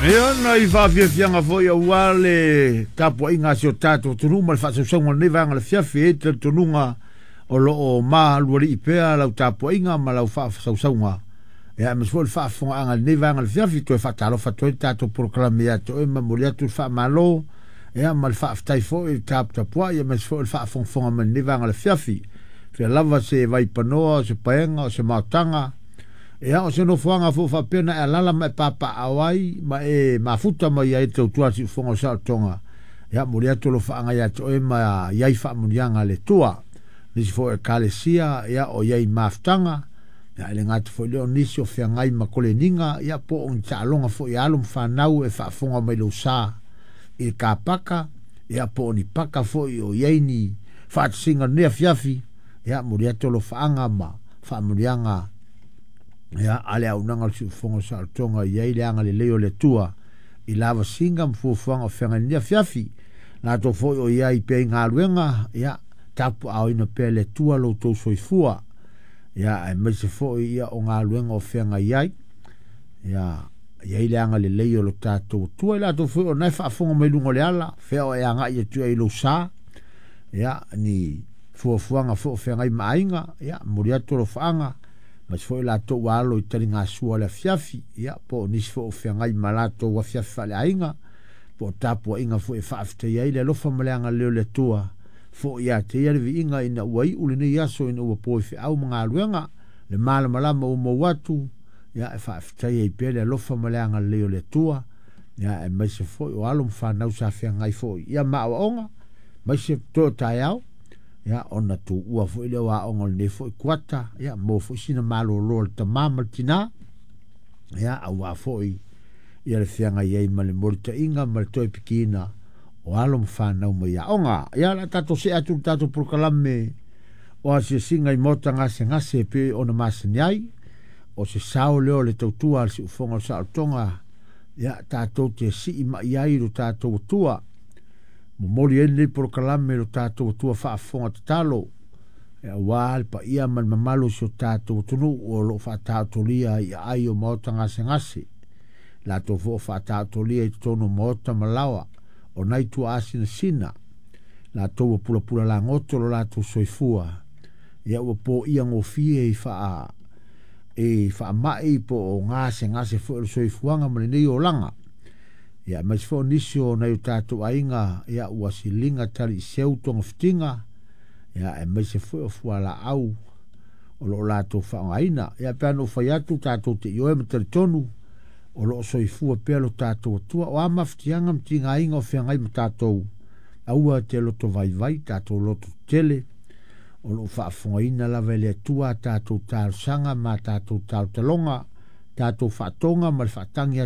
Ia, nai faafiafiaga foi aua le tapuaiga a si o tatou atunuu ma le faasausauga o lenei vaega o le afiafi. E i ai le talitonuga o lo o malualii pea lau tapuaiga ma lau faasausauga, ia aemaise foi le faafofogaaga i lenei vaega o le afiafi. Toe faatalofa atu ai le tatou polokalame ia te oe ma momoli atu le faamalo, ia ma le faafetai foi i le taputapuai aemaise foi o le faafogafoga mai i lenei vaega o le afiafi. Fia lava se vaipanoa, o se paega, o se maotaga, ia o se nofoaga foi faapea na e alaala ma e papaaao ai ma e mafuta mai ai i le tautua a le siufofoga o Saolotoga. Ia momoli atu alofaaga ia te oe ma i ai faamuniaga a le Atua. Nisi foi o Ekalesia, ia o i ai i mafutaga, ia e le gata foi i lea o nisi o feagai ma koleniga, ia po o ni taaloga foi a alo ma fanau e faafofoga mai i lou sa i le kapaka, ia po o ni paka foi o i ai ni faatasiga o lenei afiafi, ia momoli atu alofaaga ma faamuniaga ia a le auaunaga o le siufofoga o Saolotoga i ai le agalelei o le Atua i lavasiga ma fuafuaga o feagai i lenei afiafi. Latou foi o i ai pea i galuega, ia tapuaaoina pea e le Atua lo outou soifua, ia aemaise foi ia o galuega o feagai ai, ia i ai le agalelei o lo tatou Atua. I latou foi o na e faafofoga mai luga o le ala, fea o e agai atu ai i lou sa, ia ni fuafuaga foi o feagai ma aiga, ia momoli atu alofaaga, aemaise foi latou ua alo i taligasua o le afiafi, ia po o nisi foi o feagai ma latou afiafi faaleaiga, po o tapuaiga foi e faafetaia ai le alofa ma le agalelei o le Atua, foi ia te ia le viiga ina ua iu lenei aso ina ua po i feau ma galuega, le malamalama ua mou atu, ia e faafetaia ai pea le alofa ma le agalelei o le Atua, ia aemaise foi o alo ma fanau sa feagai foi ia ma aoaoga, aemaise toe o taeao, ia ona tuua foi lea o aoga o lenei foi kuata, ia maua foi sina malolo a le tamā ma le tinā, ia aua foi ia le feagai ai ma le molitaiga ma le toe pikiina o alo ma fanau mai aoga. Ia o le a tatou see atu i le tatou polokalame o asiasiga i maota gasegase e pei ona masani ai, o se sao lea o le tautua a le siufofoga o le saolotoga, ia tatou te sii mai ai lo tatou Atua. Momoli ai lenei polokalame i lo tatou Atua faafofoga tatalo, aua le paia ma le mamalu o si o tatou atunuu o lo o faataotolia i aai o maota gasegase, latou foi o faataotolia i totonu o maota ma laoa o nai tuaasinasina, latou ua pulapula lagoto lo latou soifua, ia ua poia gofie i faamai po o gasegase foi o le soifuaga ma lenei olaga. Ia aemaise foi o nisi o nai o tatou aiga, ia ua siliga taliiseu togafitiga, ia aemaise foi o fualaau o lo o latou faaaogaina. Ia pe a na ou fai atu tatou te ioe ma talitonu o lo o soifua pea lo tatou Atua. O a mafatiaga ma tigaina o feagai ma tatou, aua te loto vaivai, tatou loto tetele, o lo o faafofogaina lava e le Atua a tatou talosaga ma a tatou talotaloga, tatou faatoga ma le faatagi atu.